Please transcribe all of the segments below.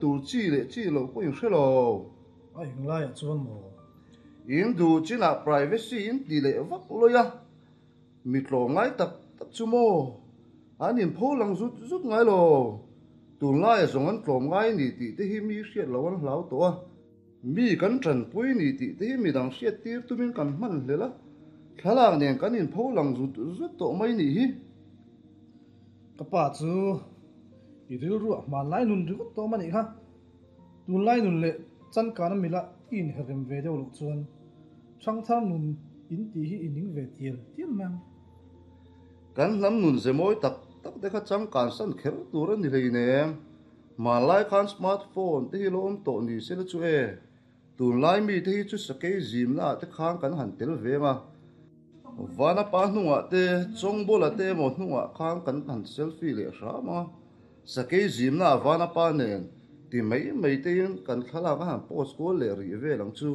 Tur chi leh chi loh pawh in hre lo. A englaiah chuan maw? In duh chinah privacy in ti leh vak lawi a, mi tlawmngai tak tak chu maw? An inpho lang zut zut ngai lo. Tunlaia zawng an tlawmngai ni tih te hi mi hriat loh an hlau tawh a. Mi kan tanpui ni tih te hi midang hriat tir tumin kan hman hlel a, thlalak nen kan inpho lang zut zut tawh mai nih hi. Ka pa chu i rilruah hmanlai nun ringawt tawm a nih kha. Tunlai nun leh chankana mila i inherrem ve deuh loh chuan hrangthar nun in tih hi i ning ve tial tial mai ang. Kan hnam nun ze mawi tak tak te kha changkan san kher tur a ni hleinem. Hmanlai khan smart phone te hi lo awm tawh ni se la chu e. Tunlai mi te hi chu sakei zimna ah te khan kan han tel veng a. Vana pa hnungah te, Chawngbawla te emaw hnungah khan kan han selfie leh hram a. Sakei zimna ah Vana pa nen ti mai mai tein kan thlalak a han post kual leh rih vel ang chu.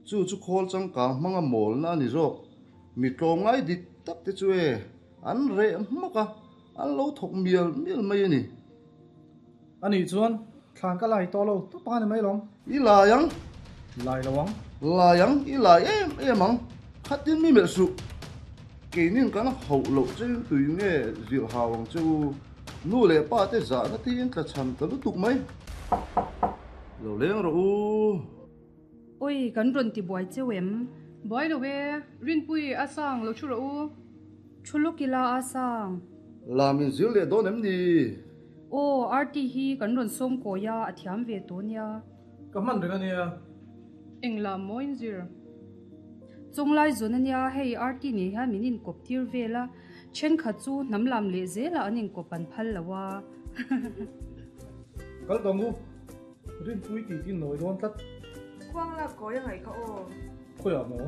Chu chu khawl changkang hmanga mawlna a ni zawk. Mi tlawmngai dik tak te chu e, an reh hmak a, an lo thawk mial mial mai a ni. A nih chuan thlan ka lai tawh lo tawp a ni mai lawm. I lai ang. Lai lo ang. Lai ang, i lai em em ang. Khatin mi melh suh. Keinin kan hauh loh chein tui nge zilh hau ang che u. Nu leh pa te zahna tiin tla chhan ta lutuk mai. Lo leng rawh u. Oi, kan rawn ti buai cheu em? Buai lo e, Rinpui a sang lo thu rawh u. Thu lawk ila a sang. Lam in zir leh dawn em ni? Aw, Arti hi kan rawn sawm kawi a, a thiam ve tawh nia. Ka hman reng a nia. Eng lam maw in zir? Chawnglai zawn a nia, hei Arti nen hian min inkawp tir vel a, thenkhat chu hnam lam leh zelah an inkawp an phal lo a. Kal tawng u. Rinpui tih tin nawi dawn tlat. Khuang lak kawi a ngaih kha aw. Khawiah maw?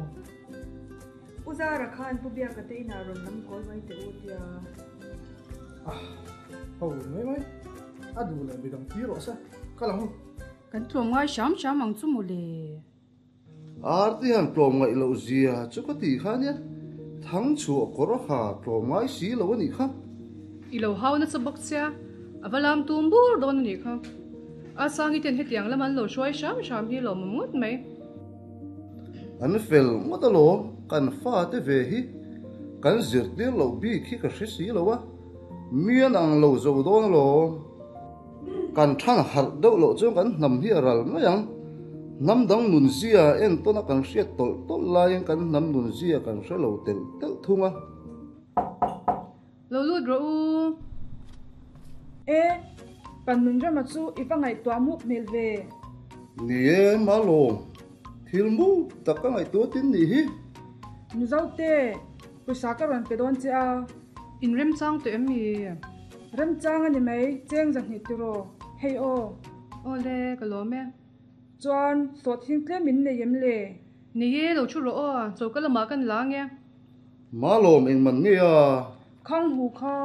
U Zara khan Pu Biaka te inah rawn lam kawi mai teh u tia. Ah, ho mai mai. A duh leh midang tir rawh se. Kal ang u. Kan tlawm ngai hram hram ang chu mawle. Arti han tlawm ngaih loh zia chu ka ti kha nia, thang chhuah kawr a ha tlawm ngai si lo a nih kha. I lo hau nasa bawk sia, a va lam tum bur dawn a nih kha. Asangi ten hetiang lam an lo hruai hram hram hi lawmawm ngawt mai. An fel ngawt alawm, kan fate ve hi kan zirtir loh bik hi ka hre si lo a, mi an ang lo zo dawn alawm. Kan than harh deuh loh chuan kan hnam hi a ral mai ang. Hnam dang nunzia entawn a kan hriat tawlh tawlh laiin kan hnam nunzia kan hre lo telh telh thung a. Lo lut rawh u. E, kan nun rama chu i va ngaihtuah muk hmel ve. Ni e, Malawm. Thil muk tak ka ngaihtuah tin nih hi. Mizote, pawisa ka rawn pe dawn che a. In remchang tawh em mi? Remchang a ni mai, cheng zahnih tiraw? Hei aw. Awle, ka lawm e. Chuan, sawhthing tlem in nei em le? Nei e, lo thu rawh aw, choka lamah kan la ang e. Malawm eng man nge a? Khang hu kha.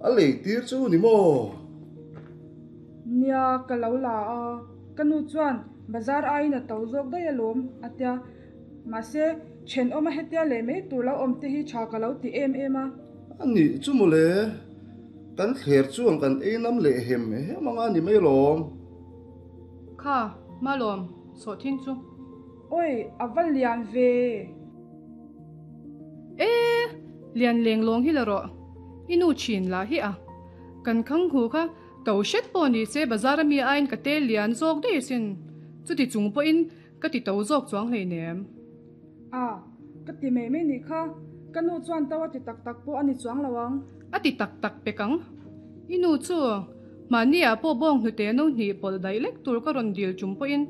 A lei tir chu ni maw? Nia, ka lo la a. Ka nu chuan bazar aiin a to zawk daih alawm, a tia. Mahse, thenawma hetia leh mai tur lo awm te hi tha ka lo ti em em a. A nih chu mawle, kan thler chuan kan ei nam leh hem hem anga ni mai lawm. Kha, Malawm, sawhthing chu. Oi, a va lian ve. E, lian leng lawng hi la rawh. I nu thin lah hi a. Kan khang hu kha to hret pawh ni se bazar ami aiin ka tel lian zawk daih asin. Chuti chung pawhin Ka ti to zawk chuang hleinem. A, ka ti mai mai nih kha. Ka nu chuan to a ti tak tak pawh a ni chuang lo ang. A ti tak tak pek ang. I nu chu, mahni ah pawh bawng hnute no hnih pawlh daih lek tur ka rawn dil tum pawhin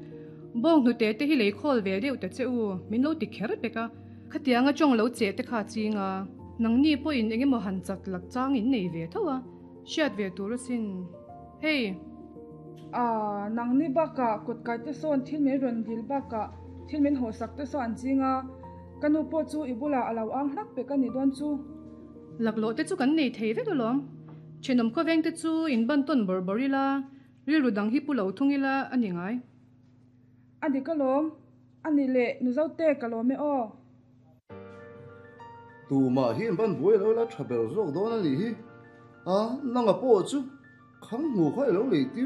bawng hnute te hi lei khawl ve deuh ta che u, min lo ti kher pek a. Khatianga tawng lo cheh te kha a ching a. Nangni pawhin eng emaw han chak lak chang in nei ve tho a, hriat ve tur asin. Hei! A, nangni bakah kut kai te sawn thil min rawn dil bakah thil min hawhsak te saw an ching a, ka nu pawh chu i bulah a lo ang hlak pek a nih dawn chu. Laklawh te chu kan nei thei vek alawm. Thenawm khawveng te chu in ban tawn bawrh bawrh ila, rilru dang hi pu lo thung ila a ni ngai. A dik alawm, a ni leh Mizote ka lawm e aw. Tumah hi in ban buai lo ila tha ber zawk dawn a nih hi. A, nanga pawh chu. Khang hmu kha i lo lei tir.